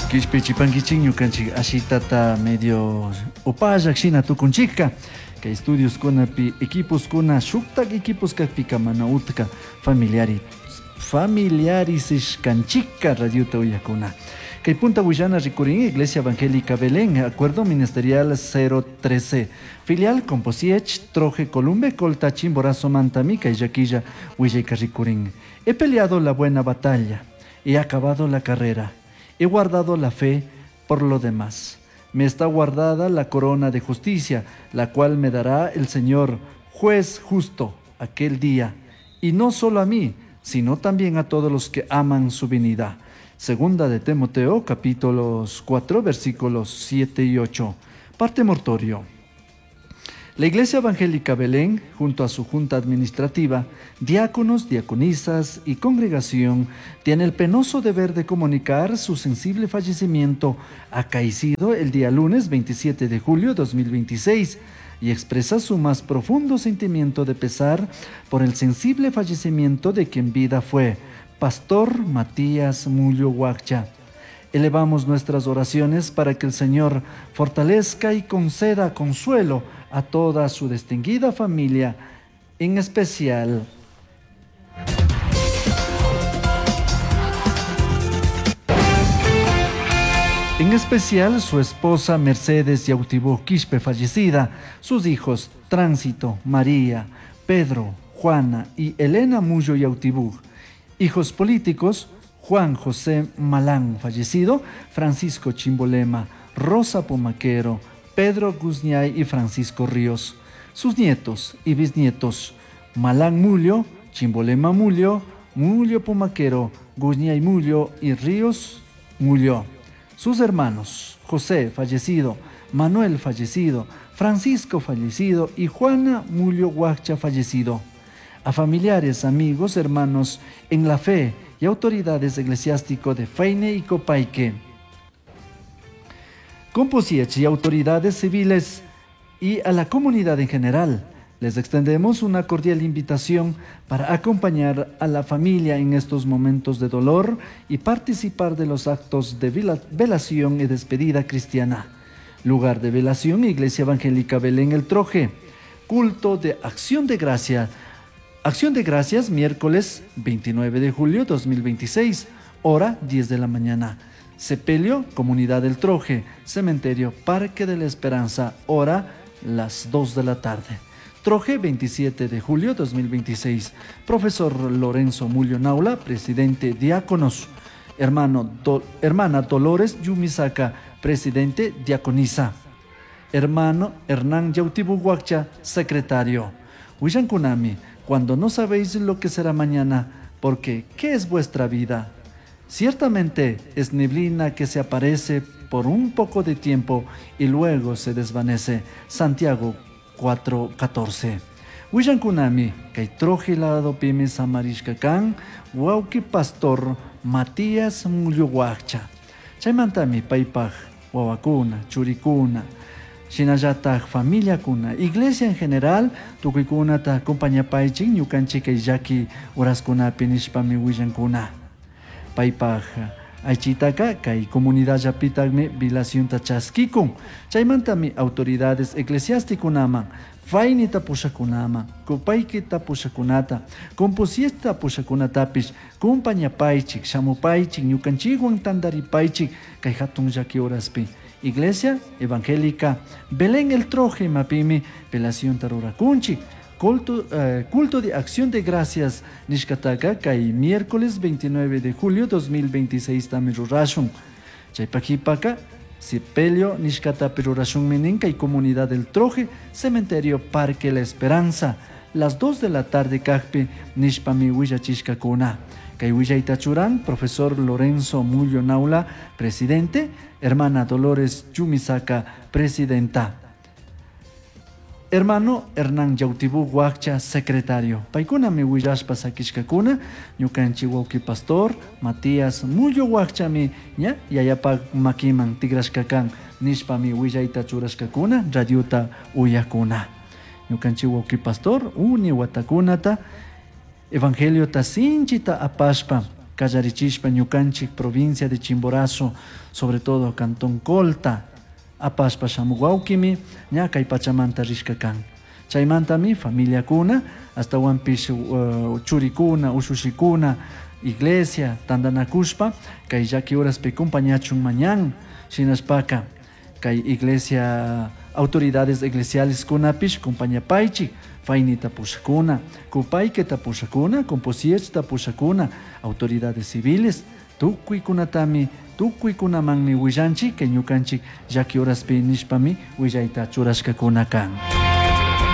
Kishpichipankichik ñukanchik ashitata medio upallak shina tukunchikka. Kay estudioskunapi equiposkuna shuktak equipos kakpika mana utka familiari familiarisishkanchikka radiota uyakuna. Kay punta willana rikurin Iglesia Evangélica Belén, Acuerdo Ministerial 013, Filial Composiech, Troje, Columbe, Colta, Chimborazo, Mantamica y Yaquilla, Huillayca rikurin. He peleado la buena batalla, he acabado la carrera, he guardado la fe por lo demás. Me está guardada la corona de justicia, la cual me dará el Señor, juez justo, aquel día, y no solo a mí, sino también a todos los que aman su venida. Segunda de Timoteo, capítulos 4, versículos 7 y 8. Parte mortorio. La Iglesia Evangélica Belén, junto a su junta administrativa, diáconos, diaconisas y congregación, tiene el penoso deber de comunicar su sensible fallecimiento acaecido el día lunes 27 de julio de 2026 y expresa su más profundo sentimiento de pesar por el sensible fallecimiento de quien vida fue, Pastor Matías Mullo Huaccha. Elevamos nuestras oraciones para que el Señor fortalezca y conceda consuelo a toda su distinguida familia, en especial su esposa Mercedes Yautibú Quispe fallecida, sus hijos Tránsito, María, Pedro, Juana y Elena Mullo Yautibú, hijos políticos Juan José Malán fallecido, Francisco Chimbolema, Rosa Pumaquero, Pedro Guzñay y Francisco Ríos, sus nietos y bisnietos Malán Mullo, Chimbolema Mullo, Mullo Pumaquero, Guzñay Mullo y Ríos Mullo. Sus hermanos, José fallecido, Manuel fallecido, Francisco fallecido y Juana Mullo Huaccha fallecido. A familiares, amigos, hermanos en la fe y autoridades eclesiásticos de Feine y Copaique. Composiech y autoridades civiles y a la comunidad en general. Les extendemos una cordial invitación para acompañar a la familia en estos momentos de dolor y participar de los actos de velación y despedida cristiana. Lugar de velación, Iglesia Evangélica Belén El Troje. Culto de Acción de Gracia. Acción de Gracias, miércoles 29 de julio 2026, hora 10 de la mañana. Sepelio, Comunidad del Troje, Cementerio Parque de la Esperanza, hora las 2 de la tarde. Troje, 27 de julio 2026. Profesor Lorenzo Mullo Naula, presidente Diáconos. Hermana Dolores Yumisaka, presidente Diaconisa. Hermano Hernán Yautibu Huaccha, secretario. Kunami, cuando no sabéis lo que será mañana, porque ¿qué es vuestra vida? Ciertamente es neblina que se aparece por un poco de tiempo y luego se desvanece. Santiago 4:14. Willankunami, kay troje lado pimi samarishka kan, wawki pastor Matías Mullo Huaccha. Chaymantami paypaj wawakuna, churikuna, shinallataj familiakuna, iglesia en general, tukuykunata acompañapaychik ñukanchik kay llaki uraskunapi nishpami willankuna. Paypaj aychitaka kay comunidad llapitaqmi vilacionta chaskikun. Chaymantami autoridades eclesiásticunaman, faynita pushakunaman, kupaykita pushakunata, composiesta pushakunatapish, kumpañapaychik, shamupaychik, ñukanchikwan tantaripaychik kay hatun llaki horaspi. Iglesia Evangélica Belén el Troje mapimi velacionta rurakunchik. Culto de Acción de Gracias nishkataka kay miércoles 29 de julio 2026 tami rurashun. Chaypakipaka sepelio nishkatapi rurashun minin kay Comunidad del Troje, Cementerio Parque La Esperanza, las 2 de la tarde kajpi nishpami willachishkakuna. Kay willayta churan, profesor Lorenzo Mullo Naula, presidente, hermana Dolores Yumisaka, presidenta. Hermano Hernán Yautibú Huaccha, secretario. Paykunami willashpa sakishkakuna, ñukanchik wawqi pastor Matías Mullo Huacchami ña yayapak makiman tigrashkakan nishpami willayta churashkakuna, radiota uyakuna. Ñukanchik wawqi pastor uni watakunata evangeliota sinchita apashpa Kallarichishpa ñukanchik provincia de Chimborazo, sobre todo Cantón Colta, apashpa shamuk wawkimi ña kay pachamanta rishka kan. Chaymantami familiakuna, ashtawanpish churikuna, ushushikuna, iglesia tandanakushpa kay llaki horaspi compañachun mañan. Shinashpaka kay iglesia autoridades eclesiales kunapish compañapaychik, faynita pushakuna, kupayketa pushakuna, composiechta pushakuna, autoridades civiles, tukuykunatami, tukuykunamanmi willanchik, kay ñukanchik llaki horaspi nishpami willayta churashkakuna kan.